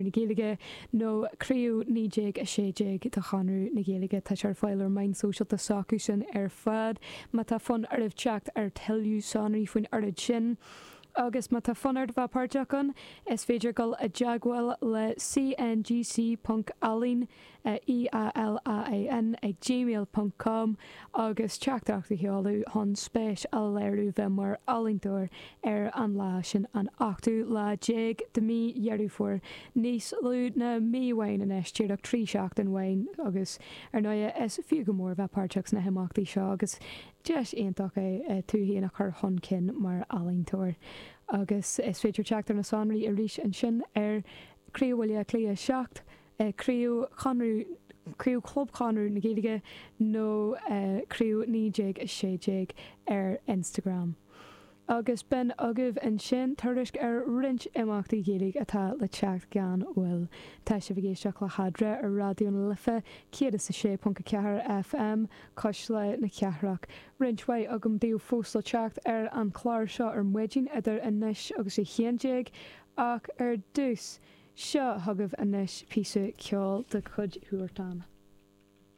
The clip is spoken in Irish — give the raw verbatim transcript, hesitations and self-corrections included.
na Gaeilge nó Craobh naoi déag a sé déag de Chonradh na Gaeilge. Tá sé ar fáil ar meáin sóisialta s'acu sin ar fad má tá fonn oraibh teacht ar tuilleadh sonraí faoin rud sin. Agus má tá fonn ort bheith páirteach ann, is féidir dul i dteagmháil le cngc ponc ealaín, E-A-L-A-I-N, ag gmail ponc com agus teachtaireacht a sheoladh chun spéis a léiriú bheith mar ealaíontóir ar an lá sin, an ochtú lá déag de mí Dheireadh Fómhair, níos lú ná mí amháin anois, díreach trí seachtain amháin agus ar ndóigh is fiú go mór bheith páirteach sna himeachtaí seo agus Deis iontach é tú féin a chur chun cinn mar ealaíontóir agus is féidir teacht ar na sonraí arís ansin ar Craobh Bhaile Átha Cliath a seacht, Craobh Chonradh, Craobh Chlub Chonradh na Gaeilge nó Craobh naoi déag a sé déag ar Instagram. Agus b'in agaibh ansin tuairisc ar roinnt imeachtaí Gaeilge atá le teacht gan mhoill. Tá sibh ag éisteacht le hEadra ar Raidió na Life céad is a sé ponc a ceathair FM, Cuisle na Cathrach. Roinnt mhaith agam daoibh fós le teacht ar an chlár seo ar maidin idir anois agus a haon déag ach ar dtús, seo chugaibh anois píosa ceoil de chuid Huartan.